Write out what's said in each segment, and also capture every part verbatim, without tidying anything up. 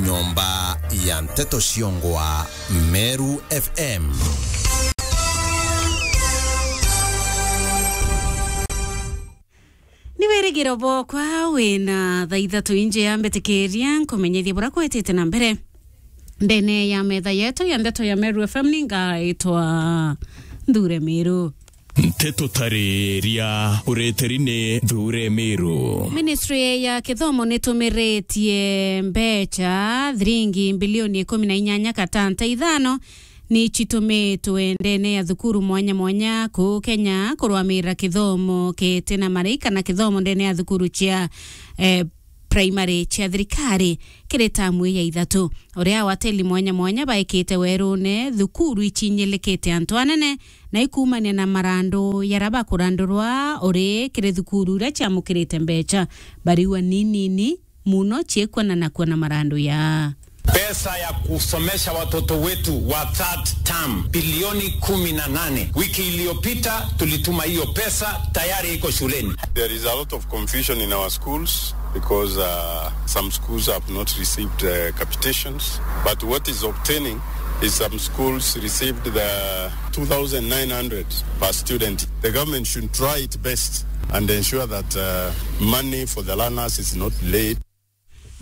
Nyomba ya nteto ciongwa Meru F M. Ni wirigiro bwokwa wina thaa ithatu inje ya mbitikiria nkumenyithie buria kwitite na mbere ndene ya metha yetu ya ndeto ya Meru F M. Ningaitwa Nthure Miru. Nteto tariria ureteri ni Nthure Miru. Ministry ya kithomo nitumiritie mbecha thiringi mbilioni ikumi na inyanya gatanta ithano ni citumitwe ndene ya thukuru mwanya mwanya kuu Kenya kurwamira kithomo kiti na marei kana kithomo ndene ya thukuru cia, eh, primary cia thirikari kiri tamu ya ithatu. Uria awateli mwanya mwanya baikite werune, thukuru iciinyilikite antu anene na ikumania na marandu yara bakurandurwa uri kiri thukuru iria ciamukirite mbecha. Bariwa ni nini muno ciikwanana kuona marandu ya. Pesa ya kusomesha watoto wetu wa third term, bilioni kumi na nane. Wiki iliyopita tulituma hiyo pesa, tayari iko shuleni. There is a lot of confusion in our schools because, uh, some schools have not received, uh, capitations. But what is obtaining is some schools received the two thousand nine hundred per student. The government should try its best and ensure that, uh, money for the learners is not delayed.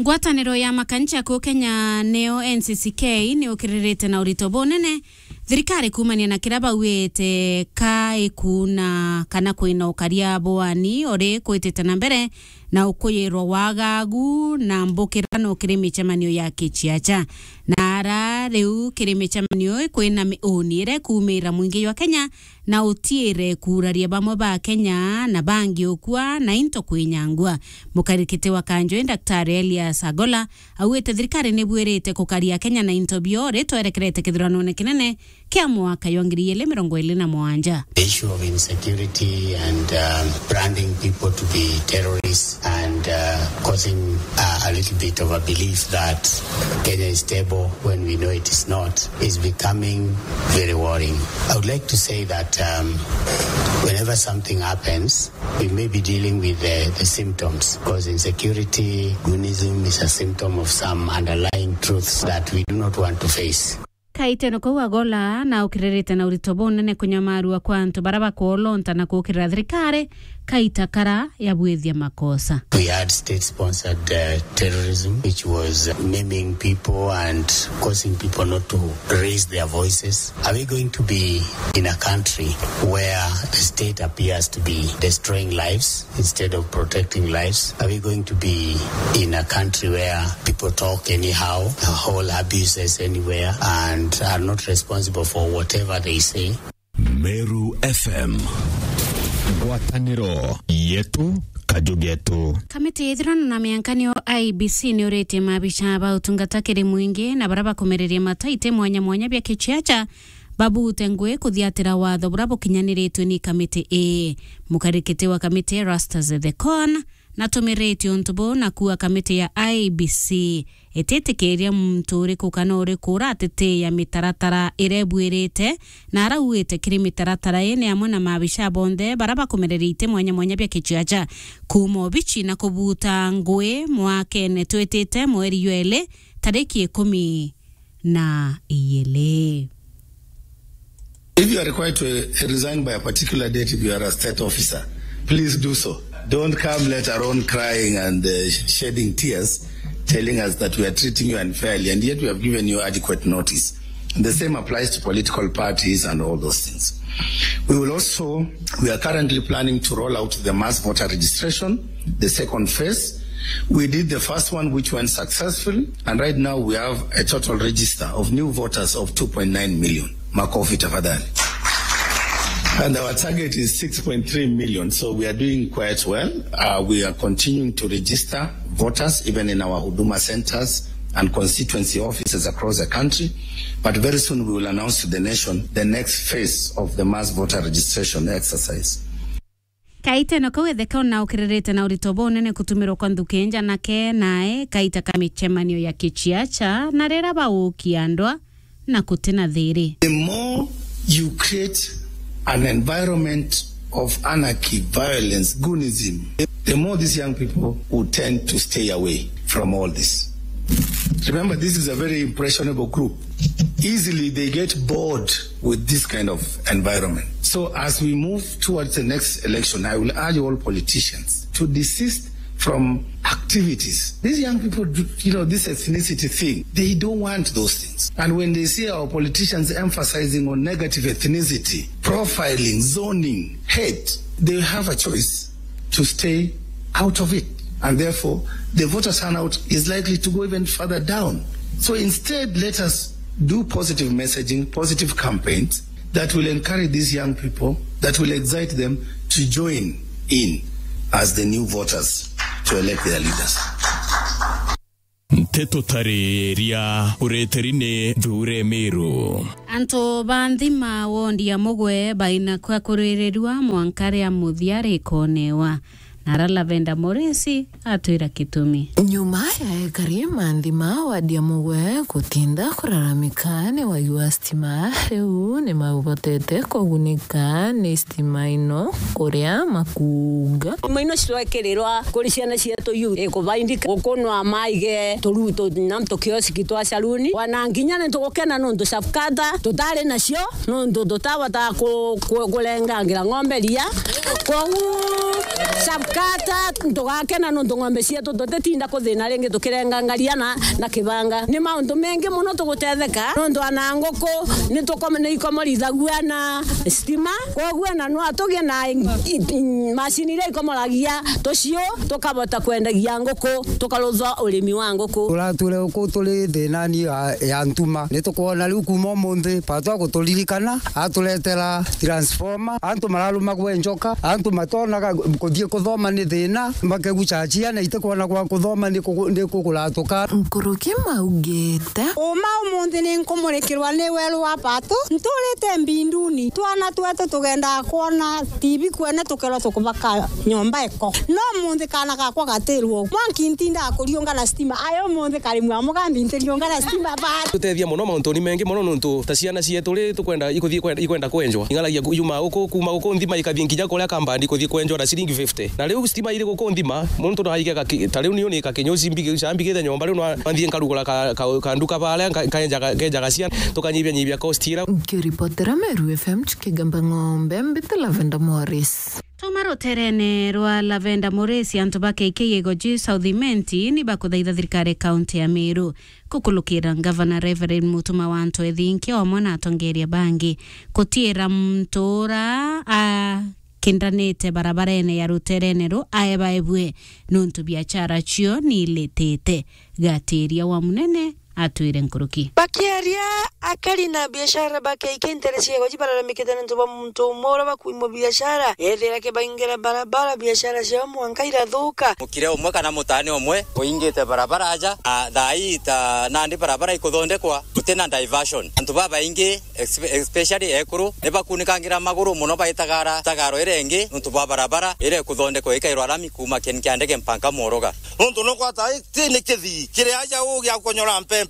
Ngwataniro ya makanisa kuu Kenya niyo N C C K ni ukiririte na urito bunene thirikari kumania na kiria bauite ka ikuna kana kwina ukaria bwani uri kwitite na mbere na ukuyirwa wagagu na mbukira no kiri micemanio ya kiciaca. Na ara riu kiri micemanio kwina miuni iria ikumira mwingi jwa Kenya na utiire kuuraria bamwe ba Kenya na bangi ukua na into kwinyangua. Mukarikiti wa Kanjwe, Daktari Elias Agola, augite thirikari ni bwirite kukaria Kenya na into bio ritwerekerete kithuranone kinene kia mwaka jwa ngiri igiri mirongo iri na mugwanja. The issue of insecurity and, um, branding people to be terrorists and, uh, causing, uh, a little bit of a belief that Kenya is stable when we know it is not, is becoming very worrying. I would like to say that, um, whenever something happens, we may be dealing with the, the symptoms, because insecurity, goonism is a symptom of some underlying truths that we do not want to face. Kaiteno kau Agola na ukiririte na urito bunene kunyamarua kwa antu bara bakwolonta na kukirira thirikari kaita kara yabwithia makosa. We had state-sponsored, uh, terrorism, which was maiming people and causing people not to raise their voices. Are we going to be in a country where the state appears to be destroying lives instead of protecting lives? Are we going to be in a country where people talk anyhow, hold abuses anywhere, and are not responsible for whatever they say? Meru F M. Ngwataniro yetu, kaju getu. Kamiti ya ithurano na miankanio I E B C ni uritie maabisa ba utungata kiri mwingi na bara bakumereria mataiti mwanya mwanya bia kiciaca babute ngui kuthiatira watho bura bukinyaniritwe ni kamiti ii. Mukarikiti wa kamiti Erastus Ethekon natumiritue untu buu na kuuga kamiti ya I E B C ititikiria muntu uriku kana uriku uratitiia mitaratara iria ibuirite, na arauite kiri mitaratara ii ni amwe na maabisa bonthe bara bakumereria iti mwanya mwanya bia kiciaca kuuma obici na kubuta ngui mwakene twitite mweri jwa ili tariki ikumi na iili. If you are required to, uh, resign by a particular date, if you are a state officer, please do so. Don't come later on crying and, uh, shedding tears, telling us that we are treating you unfairly, and yet we have given you adequate notice. And the same applies to political parties and all those things. We will also, we are currently planning to roll out the mass voter registration, the second phase. We did the first one, which went successfully, and right now we have a total register of new voters of two point nine million. Makofi tafadhali. And our target is six point three million, so we are doing quite well. Uh, we are continuing to register voters, even in our Huduma centers and constituency offices across the country. But very soon we will announce to the nation the next phase of the mass voter registration exercise. Kaiteno kau Ethekon na ukiririte na urito bunene kutumirwa kwa nthuki nja nake nae kaita ka micemanio ya kiciaca na rira baukia ndwa na guti na thiri. The more you create an environment of anarchy, violence, goonism, the more these young people will tend to stay away from all this. Remember, this is a very impressionable group. Easily they get bored with this kind of environment. So as we move towards the next election, I will urge all politicians to desist from activities. These young people, do, you know, this ethnicity thing, they don't want those things. And when they see our politicians emphasizing on negative ethnicity, profiling, zoning, hate, they have a choice to stay out of it. And therefore, the voter turnout is likely to go even further down. So instead, let us do positive messaging, positive campaigns that will encourage these young people, that will excite them to join in as the new voters to elect their leaders. Nteto tariria ureteri ni Thuure Miru. Antu ba nthima wondi ya Mugwe baina kwa kuririrua mwanka ria muthia rikonewa. Na ara Lavenda Moresi atwira kitumi. Nyuma ya ekari ma nthima wadi ya Mugwe gutinda kuraramika ni wagi wa stima, riu ni maubotete kugunika ni stima ino kuria makuga. Stima ino cirekirirwa kuri ciana cietu yu ikubaindika gukunwa maige turu tu na tukioski twa saluni. Wana nginya ni tugukena nuntu safkata tutari nacio nuntu tutahota ku- ku- kurengangira ng'ombe ria. Koguo safkata tugakena nuntu ng'ombe cietu tutitinda kuthina ringi tukirenganga ria na, na kibanga. Ni mauntu mengi muno tugutetheka nuntu ana nguku ni tukome- ni ikomorithagua na stima. Koguo na no atugie na i- i- i- macini iria ikomoragia tucio tukabota kwendagia nguku tukarutha urimi wa nguku. Turatwire uku turi thinani ya, ya ntuma. Ni tukwona riu kuma umunthi, Pato aguturirikana, aturetera transformer. Antu mararumagwe njoka, antu matonaga kuthii kuthoma ni thina, makegucachia na itikwona gwa kuthoma ni kugu- ni kuguratuka. Nkuruki maugite. Uma umunthi ni nkumurikirwa ni weru wa Pato, nturite mbinduni. Twana twetu tugendaga kwona T V kwene tukerwa tukubaka nyomba iko. No umunthi kana gakwa gatirwo. Mwanki ntindaga kuriunga na stima. Ayo umunthi kari mwa mugambi ntiriunga na stima bado. Tutethia muno mauntuni mengi muno nuntu ta ciana cietu ri tukwenda ikuthii kwenda- ikwenda kwenjwa. Ing'aragia ku- yuma uku kuma uku nthima ikathii nginya kuria kambandi kuthii kwenjwa na ciringi fifty. Na riu stima iri guku nthima, muntu no aige gaki- ta riu niu ni kakinyo cimbi- cambigite nyomba riu no nthii nkarugura ka- ka- kanduka baria nka- nkaenjaga- nkenjaga ciana tukanyibia nyibia cost ira. Nkiripotera Meru F M Chikigamba Ng'ombe, mbite Lavenda Morris. Tuma ruterene rwa Lavenda Morris, antu ba K K Igoji South Imenti ni bakuthaitha thirikari kaunti ya Meru kukulukira ngavana Reverend Mutuma wa Antu Ethinkia omwe na atongeria bangi kutiira muntu ura a kindanite barabarene ya ruterene ru aebaebue nuntu biachara cio ni ilitite. Gatiria wa munene atwire nkuruki. Bakiaria, akari na biashara ba K K ntere cia Igoji bararamikite nontu bwa muntu umwe uria bakuimwa biashara ethira kibaingira barabara, biashara ciao mwanka irathuka. Mukire umwe kana mutane umwe uingite barabara aja, a, thaa ii ta nandi barabara ikuthondekwa, gutina diversion. Antu babaingi, espe- especially ekuru, ni bakunikangira maguru muno baitagara tagaro iria ingi nontu bwa barabara iria ikuthondekwa ikairwa rami kuma kieni kia ndege mpanka Moroga. Nontu no kwata ti ni kithii kiri aja u gia konyora mpempe.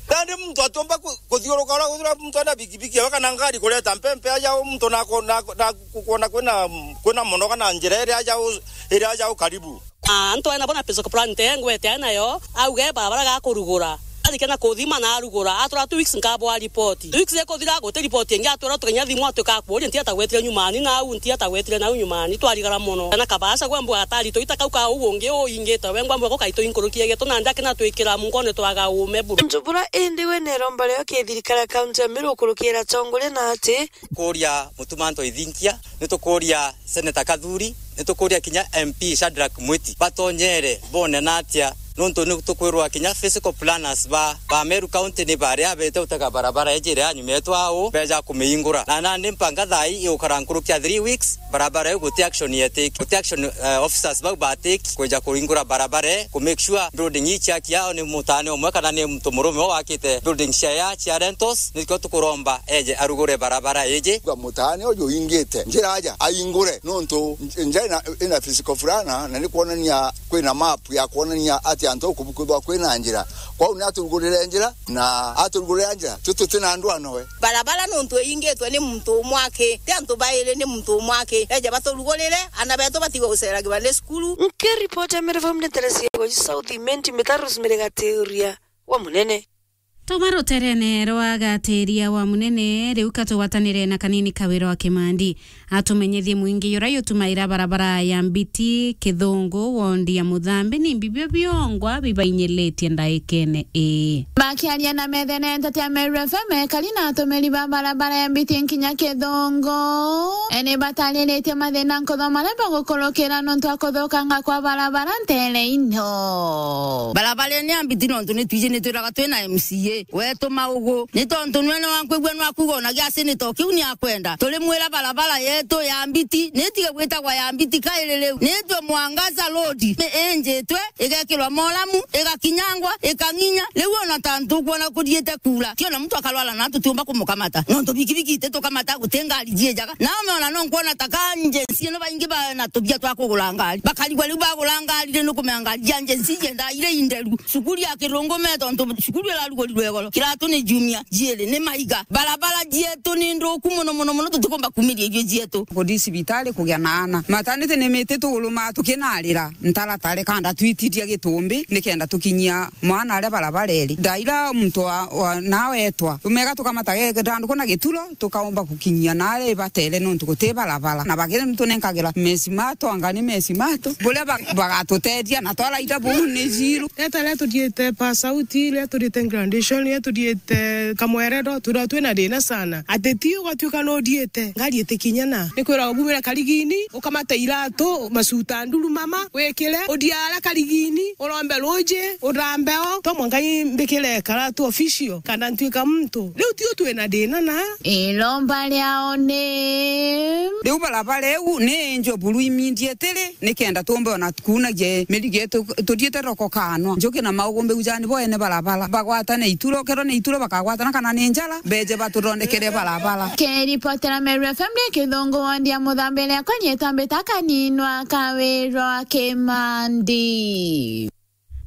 Nandi muntu atiumba ku- kuthiuruka uria uria muntu ena bikibiki ewe kana ngari kureta mpempe aja u muntu na ku- na ku- na ku- kuona kwina kwina muno kana njira iria aja u iria aja u karibu. Ah, antu ena bona pesa plan te ngwete nayo, auge barabara ga kurugura. Arikia na kuthima na arugura, atwira two weeks nkabwa report. Two weeks ikuthira guti report ingi atwira tukenya thimu atuka kuuria ntia tagwetire nyumani na au ntia tagwetire na au nyumani twarigara muno. Na kabasa gwe mbwa atari tuita kau ka uu ungi uingite we ngwa mbwa gukai tuinkurukie getu na ndake na twikira mungone twaga ume buru. Njubura indi we neromba rio kithirikari kaunti ya Meru kurukira tongoria na ati. Kuria Mutuma Antu Ethinkia, ni tukuria Senator Kathuri, ni tukuria kinya M P Shadrack Mwiti batonyere bone na atia, nontu ni tukwirwa kinya physical planners ba, ba Meru County ni baria bete utega barabara iji iria nyuma yetu au beja kumiingura. Na nandi mpanga thaa ii igukara nkuruki ya three weeks, barabara iu guti action yetiki, guti action, eh, officers bau batiki kwija kuingura barabara ii, ku make sure building ii ciaki yao ni mutane umwe kana ni muntu murume wakite building cia ya cia rentals, nikio tukuromba eje arugure barabara iji. Kwa mutane uju ingite njira aja aingure nontu nj- nja ina, ina physical fulana na ni kuonania kwina map ya kuonania ati antu au kubukuthwa kwina njira. Kwou ni aturugurire njira na aturugurira njira tu tutina ndwano we. Barabara nontu iingitwe ni muntu umwe aki, ti antu bairi ni muntu umwe aki. Eja baturugurire, ana betu batigwe guceragirwa ni cukuru. Nkiripota Meru F M ni Teresia Goji South Imenti Mitaros Mirigatiuria. wa munene. Tuma ruterene rwa gatiria wa munene, riu ka tugwatanire na kanini Kawira wa Kimandi. Atumenyithie mwingi jura jutumaira barabara ya Mbiti Kithungu, wondi ya Muthambi, ni mbibio biongwa bibainyiritie ndaikene ii. Bakiaria na methenete tia Meru F M, ekari na atumiri ba barabara ya Mbiti nkinya Kithungu, ene batariritie mathina nkutho maria bagukurukira nontu wa kuthukanga kwa barabara ntere ino. Barabara ino ya Mbiti nontu ni twiji ni twiraga twina M C A wetu maugu. Ni tontu nwene wankwigua nwakuga ona giaci ni to kiu ni akwenda. Turimwira barabara yetu ya Mbiti, ni tige gwitagwa ya Mbiti kairi riu. Ni twe Mwangaza Road, ni injitwe, igekirwa molamu, igakinyangwa, ikang'inya. Riu ona ta ntukwona kuthiite kuura, ti ona muntu akarwara na tutiumba kumukamata. Nontu bikibiki ititukamata, guti ngari jiijaga. Na umeona no nkwona ta ka agency ino baingi bana tubia twa kugura ngari. Bakarigwa riu bagura ngari ri, nukumenya ngari cia agency iendaa iri inderu. Cukuru ya Kirungu me tontu cukuru irarugurirwe igoro. Kiratu ni junior, jiiri ni maiga. Barabara jietu ni nthuku mono, mono, mono, tutikumba kumiria irio jietu. Kuthi cibitari kugia na aana. Maternity ni miti tuguru ma tukinarira. Ntaratare kanda twitiria gitumbi, nikenda tukinyia mwana aria barabara iri. Ndaira muntu wa, wa, nawe etwa. Tumega tukamata ge-, githanduku na gituro, tukaumba gukinyia naria ibatere nontu guti barabara. Na bagire nitunenkagira mesi mato, anga ni mesi mato. Buria ba-, bagatutethia na twaraira buu ni jiru. Rieta riria tuthiite pa sauti, riria tuthiite graduation, riria tuthiite kamwerero, turia twina thina sana. Ati ti ugatuika nuthiite, ngari itikinyana. Ni kwiragwa bumire karigini, ukamata iratu, macuta nduru mama, wikire, uthia ara karigini, urombe ruji, uthambe o, to mwanka i mbikire karatu official, kana ntuika muntu. Riu tiu twina thina na. Iromba riao ni. Riu barabara iu ni injo buru imindietiri, nikenda tumbe ona kuunagia mirigo yetu tuthiite roko kanwa. Njuki na maugu mbigujani boene barabara. Bagwatane ituro, kethirwa ni ituro bakagwatana kana ni njara, beje batuthondekere barabara. Kiripotera Meru F M ni Kithungu wondi ya Muthambi, riakwa rietwa Mbita Kaninwa Kawirwa Kimandi.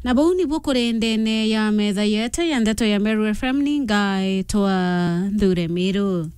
Na buu nibuo kuri ndene ya metha yetu ya ndeto ya Meru F M, ni ngaitwa Nthure Miru.